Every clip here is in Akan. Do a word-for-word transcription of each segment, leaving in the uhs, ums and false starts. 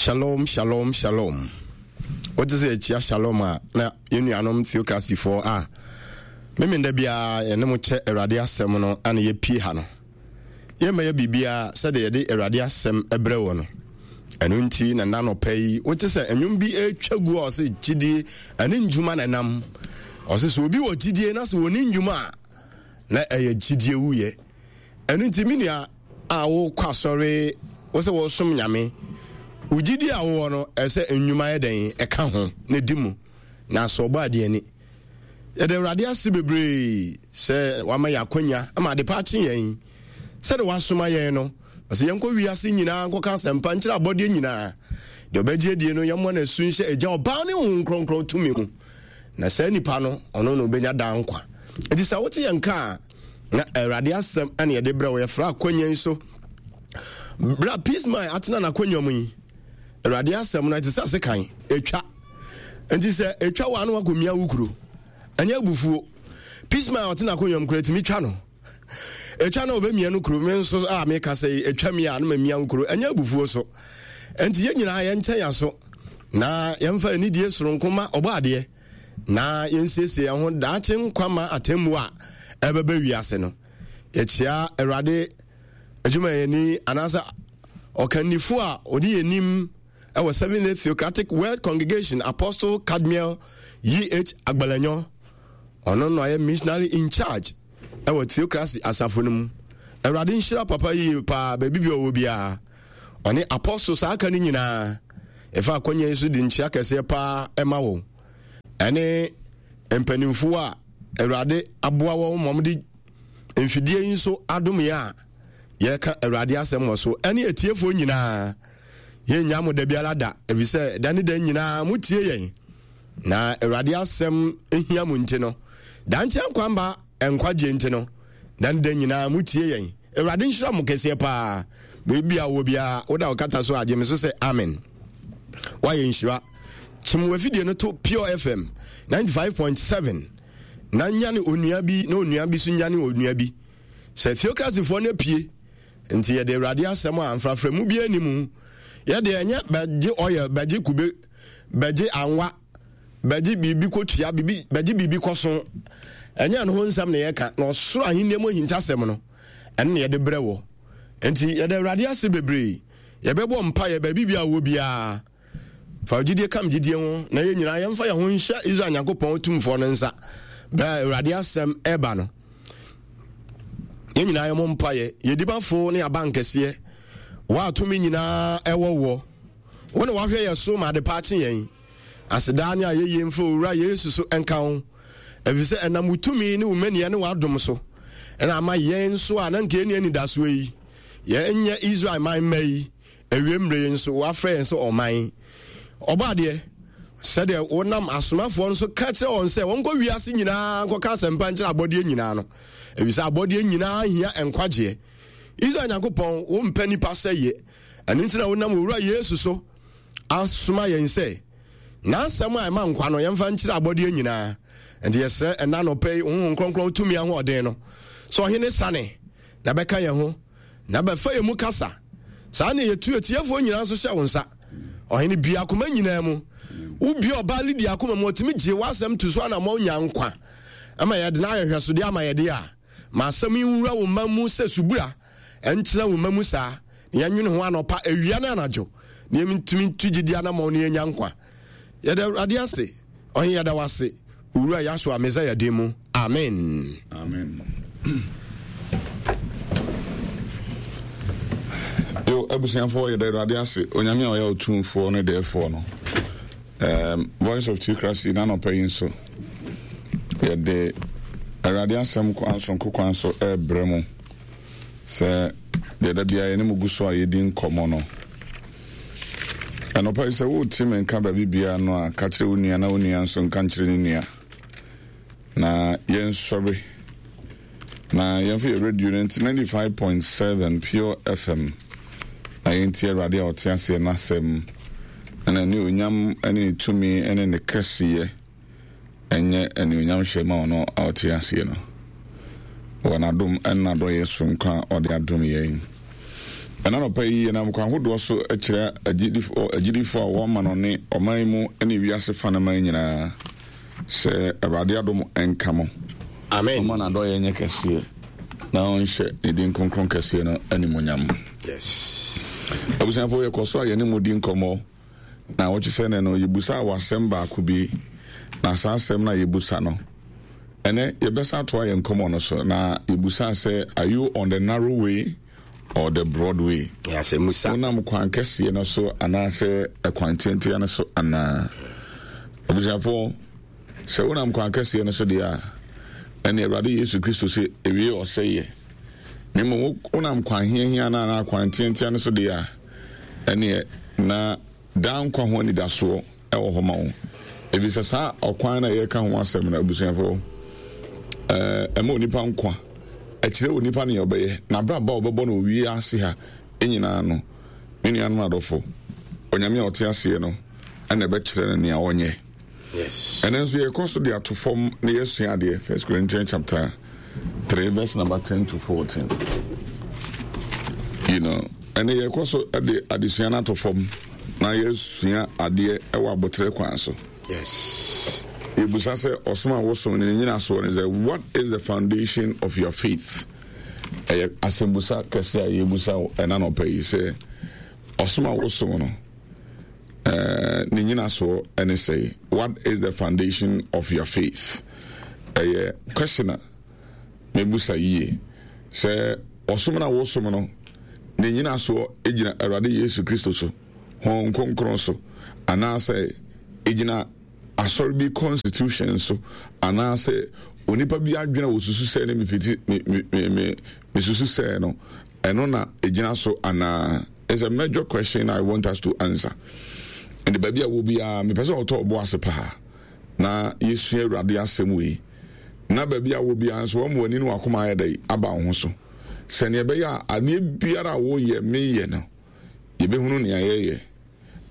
Shalom, shalom, shalom. Wote sɛ yɛkyia shalom a, na yɛn nuanom theocracyfoɔ a memenda biara yɛne mo kyɛ Awurade asɛm no ana yɛpie ha no. Yɛmma yɛ biribiara sɛdeɛ yɛde Awurade asɛm brɛ wɔ no. Ɛno nti na nna nɔpɛ yi wote sɛ nnwom bi atwa gu a ɔse gyidie ɛne ndwuma na ɛnam. Ɔse sɛ obi wɔ gyidie na sɛ wɔni ndwuma a na ɛyɛ gyidie wuyɛ. Ɛno nti me nua a wokɔ asɔre wo sɛ wɔsom Nyame, wo gyidie a wowɔ no ɛsɛ nnwuma yɛ dɛn ɛka ho na di mu na asɔ ɔbɔ adeɛ ani. Yɛde Awurade ase bebree sɛ wama yɛ akwanya ama adepa akye yɛn sɛde wasoma yɛn no. Ɔsɛ yɛnkɔ wiase nyinaa nkɔka asɛmpa nkyerɛ abɔdeɛ nyinaa. Deɛ ɔbɛgye adie no yɛmmɔ no asu nhyɛ Agya, Ɔba ne Honhom Kronkron tumi mu, na saa nipa no ɔno na ɔbɛnya daa nkwa. Nti sɛ wote yɛn ka a, na Awurade asɛm ɛna yɛde brɛ wo. Yɛfrɛ akwanya yi so bra Peace Mind atena n'akwanya mu yi. Awurade asɛm no ɛte sɛ asekan ɛtwa. Nti sɛ ɛtwa wɔ ano akɔmia wo kuro, ɛnyɛ abufuo. Peace Mind ɔte n'akwanya mu kuro ɛtumi twa no. Ɛtwa na ɔbɛmia no kuro. Me nso a meka sɛ ɛtwa mi a na mamia wo kuro, ɛnyɛ abufuo so. Nti yɛn nyinaa yɛnkyɛn aso na yɛmfa anidie soronko ma ɔbɔ adeɛ na yɛnsiesie yɛn ho daakye nkwa ma atemmuo a ɛbɛbɛ wiase no. Yɛkyia Awurade adwumayɛni anaasɛ ɔkannifo a ɔde yɛn nim ɛwɔ Seventh Day Theocratic World Congregation, Apostle Cadmiel E H Agbalanyo. Ɔno na ɔyɛ missionary in charge ɛwɔ Theocracy asafo no mu. Awurade nhyira papa yie paa baabi bi ɔwɔ biara. Ɔne apostle saa aka no nyinaa. Ɛfa akɔnya yi so de nkyia kɛseɛ paa ɛma wo. Ɛne mpanimfoɔ a Awurade aboa wɔn ma wɔde mfidie yi nso adom yɛ a yɛka Awurade asɛm wɔ so. Ɛne atiefoɔ nyinaa, yɛnnya mo da biara da, ɛfiri sɛ da ne da nyinaa motie yɛn. Na Awurade asɛm hia mo nti no, dankye nkwamba nkwagye nti no, da ne da nyinaa motie yɛn. Awurade nhyira mo kɛseɛ paa. Baabi a wɔ biara, woda wo kata so agye me so sɛ amen. Woayɛ nhyira. Kyem w'afidie no to Pure F M ninety-five point seven na nyane onua bi na onua bi so nyane onua bi. Sɛ theocracyfoɔ no apue nti yɛde Awurade asɛm a mfraframu bi anim mu. Yɛde ɛnyɛ bɛgye oil, bɛgye kube, bɛgye anwa, bɛgye biribi kɔtua, biribi, bɛgye biribi kɔso. Ɛnyɛ no ho nsɛm na yɛka, na ɔsoro ahenni mu ahintasɛm no ɛno na yɛde brɛ wɔ. Nti yɛde Awurade ase bebree. Yɛbɛbɔ mpaeɛ baabi bi a wɔ biara. Fa gyidie kam gyidie ho na yɛn nyinaa yɛmfa yɛn ho nhyɛ Israel Nyankopɔn tumfoɔ no nsa. Berɛ a Awurade asɛm ɛba no, yɛn nyinaa yɛmmɔ mpaeɛ. Yɛdibafo ne abankɛseɛ, wɔatumi nyinaa ɛwɔ woɔ. Wo na wahwɛ yɛ so ma adepa akye yɛn. Asedaa ne ayɛyie mfa Owura Yesu so ɛnka ho, ɛfiri sɛ ɛnam wo tumi ne wo mmaniɛ ne w'adom so ɛna ama yɛn nso a na nka yɛnni anidasoɔ yi, yɛnyɛ Israel man mma yi, awie mmerɛ yi nso wafrɛ yɛn sɛ ɔman. Ɔbɔ adeɛ sɛdeɛ wonam asomafoɔ nso ka kyerɛ wɔn sɛ wɔnkɔ wiase nyinaa nkɔka asɛmpa nkyerɛ abɔdeɛ nyinaa no, ɛfiri sɛ abɔdeɛ nyinaa hia nkwagyeɛ. Israel Nyankopɔn, wompɛ nipa sɛ yɛ, ɛno nti na wonam Owura Yesu so asoma yɛn sɛ n'asɛm a ɛma nkwa no yɛmfa nkyerɛ abɔdeɛ nyinaa. Nti yɛsrɛ ɛna nɔpɛ yi Honhom Kronkron tumi ahoɔden no sɛ ɔhene sane na bɛka yɛn ho na bɛfa yɛn mu kasa. Saa ne yɛtu atiefoɔ nyinaa nso hyɛ wo nsa. Ɔhene bia akoma nyinaa mu. Wobia ɔbaa Lydia akoma mu, ɔtumi gye w'asɛm to so anammɔn nya nkwa. Ama yɛde no ayɛ hwɛsodeɛ ama yɛde a, ma asɛm yi nwura wo mma mu sɛ subura, ɛnkyerɛ wo mma mu saa, na yɛnwene ho anɔpa, awia ne anadwo, na yɛntumi ntu gyidi anammɔn na yɛnya nkwa. Yɛda Awurade ase. Ɔhene yɛda wo ase. Owura Yahshua Messiah din mu. Amen. Amen. Yo, abusuafoɔ, yɛda Awurade ase. Onyame a ɔyɛ ɔtumfoɔ ne dɛɛfoɔ no. Um, Voice of Theocracy n'anɔpa yi nso yɛde Awurade asɛm kwan sonko kwan so ɛrebrɛ mu sɛ deɛ da biara yɛne mu gu so a yɛdi nkɔmmɔ no. Anɔpa yi sɛ wote me nka baabi biara no a, ka kyerɛ wo nua na wo nua nso nka nkyerɛ ne nua na yɛnsɔre na yɛmfa yɛ radio no nti ninety-five point seven Pure F M na yɛntie Awurade a ɔte aseɛ n'asɛm na n'anuonyam ne ne tumi ne ne kɛseyɛ ɛnyɛ anuonyam hyɛ ma ɔno a ɔte aseɛ no wɔ n'adom ne n'adɔyɛ soronko a ɔde adom yɛn. Ɛna nɔpa yi yɛnam kwan ahodoɔ so kyerɛ agyidifoɔ a wɔma no ne ɔman mu ne wiase fa no man nyinaa sɛ Awurade adom nka mo. Amen. Ɔma n'adɔyɛ nyɛ kɛseɛ na ɔnhyɛ ne din kronkron kɛseɛ no animuonyam. Yes. Abusuafoɔ, yɛkɔ so a yɛne mu di nkɔmmɔ na wɔkye sɛ nɛ no yɛbusa wɔ asɛm baako bi, na saa asɛm no a yɛbusa no ɛnɛ yɛbɛsa atoa yɛn nkɔmmɔ no so, na yɛbusa sɛ, are you on the narrow way or the broad way? Asɛmmusa. Wonam kwan kɛseɛ no so anaasɛ ɛkwan tiantia no so anaa? Abusuafoɔ, sɛ wonam kwan kɛseɛ no so deɛ a, ɛne Awurade Yesu Kristo sɛ ewie ɔsɛeɛ, na mmom wonam kwan hiahia no anaa kwan tiantia no so deɛ a, ɛneɛ na daa nkwa ho anidasoɔ ɛwɔ hɔ ma wo, ɛfiri saa ɔkwan no a yɛreka ho asɛm no, abusuafoɔ, ɛma onipa nkwa, ɛkyerɛ onipa nea ɔbɛyɛ na abrabɔ a ɔbɛbɔ no owie ase ha nyinaa no. Me nuanom adɔfo, Onyame a ɔte aseɛ no ɛna ɛbɛkyerɛ no nea ɔnyɛ. Yes. Ɛno nso yɛkɔ so de ato fam na yɛsua adeɛ. First Corinthians chapter three verse number ten to fourteen. You know, ɛne yɛkɔ so de adesua no ato fam na yɛsua adeɛ ɛwɔ abotire kwan so. Yes. Yɛbusa sɛ ɔsom a wosom no ne nyinasoɔ ne sɛ, what is the foundation of your faith? Ɛyɛ asɛmbusa kɛse a yɛbusa wo ɛna nɔpɛ yi sɛ ɔsom a wosom no ne nyinasoɔ ne sɛ, what is the foundation of your faith? Ɛyɛ question a mebusa yie sɛ ɔsom no a wosom no ne nyinasoɔ gyina Awurade Yesu Kristo so, Honhom Kronkron so, anaasɛ ɛgyina asɔre bi constitution so, anaasɛ onipa bi adwene a wɔsusu sɛ ne mefiti me me me mesusu sɛ no ɛno na ɛgyina so anaa? It's a major question I want us to answer. Ɛnde baabi a wɔ biara, mepɛ sɛ ɔtɔ ɔbo ase paa na yɛsua Awurade asɛm wei, na baabi a wɔ biara nso wɔn ani ne wakoma ayɛ dɛ aba wo ho so, sɛnea ɛbɛyɛ a adeɛ biara a wɔyɛ meyɛ no yɛbɛhunu nea yɛyɛ.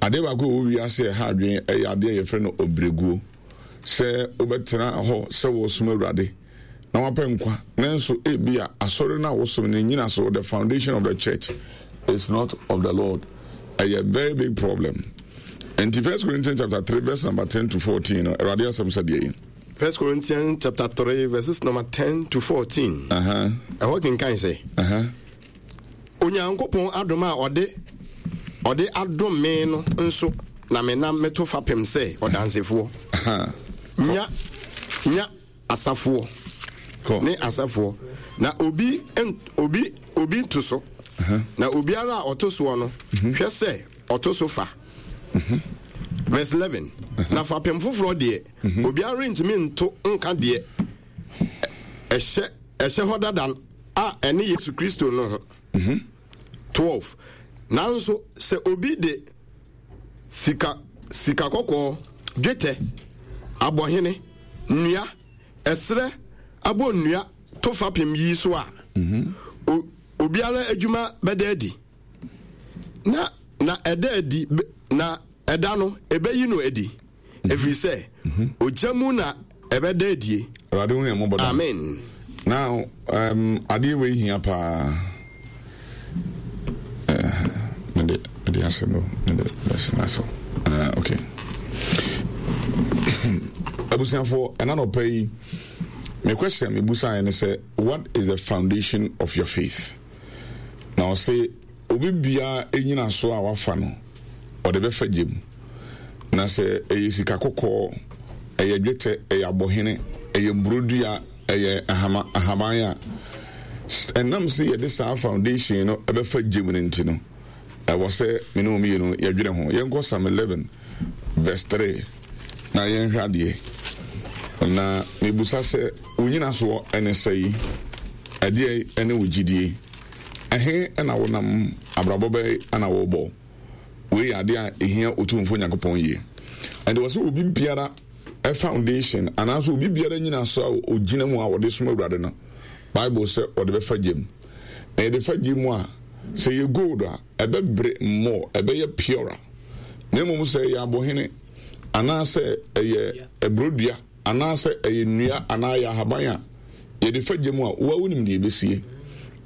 Adeɛ baako a ɛwɔ wiase a ɛha adwene ɛyɛ adeɛ a yɛfrɛ no ɔbrɛguo, sɛ wobɛtena hɔ sɛ wɔsom Awurade na wapɛ nkwa, nanso ebi a asɔre no a wosom no nyina so, the foundation of the church is not of the Lord. Ɛyɛ very big problem. Nti First Corinthians chapter three verse number ten to fourteen no, Awurade asɛm sɛ deɛ yi. First Corinthians chapter three verses number ten to fourteen. Ɛhɔ kenkan sɛ, Onyankopɔn adom a ɔde ɔde adom me no nso na menam meto fapem sɛ ɔdansefoɔ nya nya asafoɔ ne asafoɔ, na obi obi obi nto so, na obiara a ɔto soɔ no hwɛ sɛ ɔto so fa. Verse eleven, na fapem foforɔ deɛ, obiara rentumi nto nka deɛ ɛhyɛ ɛhyɛ hɔ dada a ɛne Yesu Kristo no ho. Twelve, nanso sɛ obi de sika sika kɔkɔɔ, dwetɛ, abɔhene, nnua, ɛserɛ abɔ nnua to fapem yi so a, o, obiara adwuma bɛda adi, na na ɛda adi, na ɛda no ɛbɛyi no adi, ɛfiri sɛ ogya mu na ɛbɛda adie. Awurade hu yɛn mmɔbɔ. Amen. Now um, adeɛ wei hia paa. Mede mede ase no mede mɛsi na so. Okay, abusuafoɔ, ɛna nɔpɛ yi me question mebusaeɛ ne sɛ, what is the foundation of your faith? Na ɔse obi biara ɛnyina so a wafa no ɔde bɛfa gyem, na sɛ ɛyɛ sika kɔkɔɔ, ɛyɛ dwetɛ, ɛyɛ abɔhene, ɛyɛ mburodua, ɛyɛ ahama ahaban a, ɛnam sɛ yɛde saa foundation no ɛbɛfa gyem no nti no, ɛwɔ sɛ me ne wo mmienu yɛdwene ho. Yɛnkɔ Psalm eleven verse three na yɛnhwɛ adeɛ. Na mebusa sɛ wo nyinasoɔ ɛne sɛi, ɛdeɛ ɛne wo gyidie, ɛhe ɛna wonam, abrabɔ bɛyɛ ɛna wobɔ? Wei yɛ adeɛ a ɛhia Otumfoɔ Nyankopɔn yie. Ɛnde wɔ sɛ obi biara foundation anaasɛ obi biara nyina so a ogyina mu a wɔde som Awurade no, Bible sɛ wɔde bɛfa gyem, na yɛde fa gye mu a, sɛ yɛ gold a, ɛbɛbere mmɔ, ɛbɛyɛ purer, na mmom sɛ ɛyɛ abɔhene anaasɛ ɛyɛ aburodua anaasɛ ɛyɛ nnua anaa ɛyɛ ahaban a yɛde fa gye mu a, woa wonim deɛ ɛbɛsie.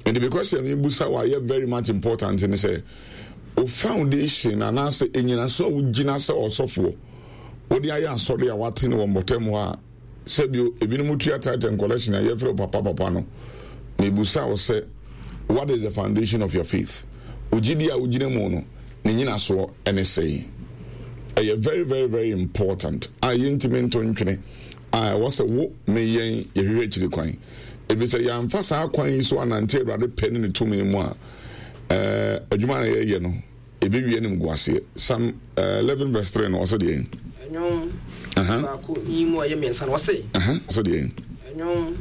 Nti because yɛ mebusa wɔ ayɛ very much important ne sɛ o foundation anaasɛ enyinaso a wogyina sɛ ɔsɔfoɔ wode ayɛ asɔre a wate ne wɔ mbɔtɛm hɔ a, sɛbio ebinom tua tithe and collection a yɛfrɛ wo papa papa no, mebusa wo sɛ, what is the foundation of your faith? Ogyidi a wogyina mu no ne nyinasoɔ ɛne sɛn? Ɛyɛ very very very important a yɛntumi nto ntwene a ɛwɔ sɛ wo me yɛn yɛhwehwɛ akyiri kwan, ebi sɛ yɛamfa saa kwan yi so anante Awurade pɛ ne ne tumi mu a, ɛɛ adwuma na yɛyɛ no ebi wie anim gu aseɛ. Psalm eleven verse three no, ɔsɛ deɛ? Ɛnwom baako yi mu a ɛyɛ mmiɛnsa no, ɔse. Ɔsɛ deɛ? Ɛnwom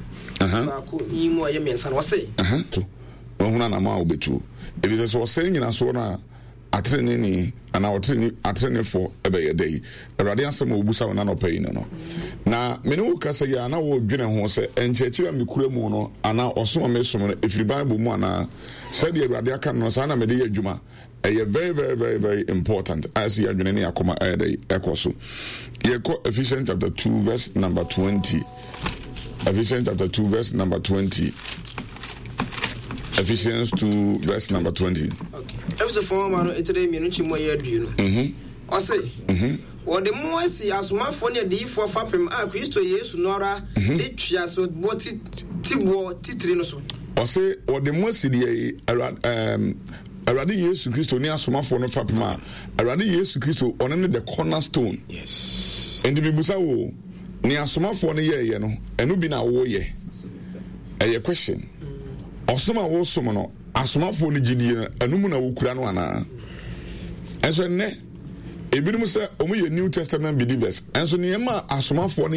baako yi mu a ɛyɛ mmiɛnsa no, ɔse. To wɔhunu anamɔ a wobɛtuo, ebi sɛ sɛ ɔsɛe nyinasoɔ no a, ateneneni anaa ɔtene atenenefoɔ ɛbɛyɛ dɛ yi. Awurade asɛm a wɔbusa wo nanɔpɛ yi no no na mene wo kasa yi a na wɔredwene ho sɛ nkyerɛkyerɛ a mekura mu no anaa ɔsom a mesom no ɛfiri Bible mu anaa sɛdeɛ Awurade aka no no saa na mede yɛ adwuma. Ɛyɛ very very very very important a ɛsɛ yɛadwene ne yɛakoma ɛyɛ dɛ ɛkɔ so. Yɛkɔ Ephesians chapter two verse number twenty. Ephesians chapter two verse number twenty. Ephesians two verse number twenty. Efesofoɔ nwoma no etire mmienu nkyi mu ɛyɛ aduonu. Ɔse, wɔde mo asi asomafoɔ ne adiyifoɔ fapem a Kristo Yesu no ara de twea so boɔ ti tiboɔ titiri no so. Ɔse wɔde mo asi deɛ? Awurade Yesu Kristo ne asomafoɔ no fapem a Awurade Yesu Kristo ɔno ne the cornerstone. Yes. Nti bibusa wo, ne asomafoɔ no yɛɛyɛ no, ɛno bi na woyɛ? Ɛyɛ question. Ɔsom a wosom no, asomafoɔ no gyidie no, ɛno mu na wokura no anaa? Ɛnso ɛnnɛ ebinom sɛ ɔmo yɛ New Testament believers, ɛnso nneɛma a asomafoɔ no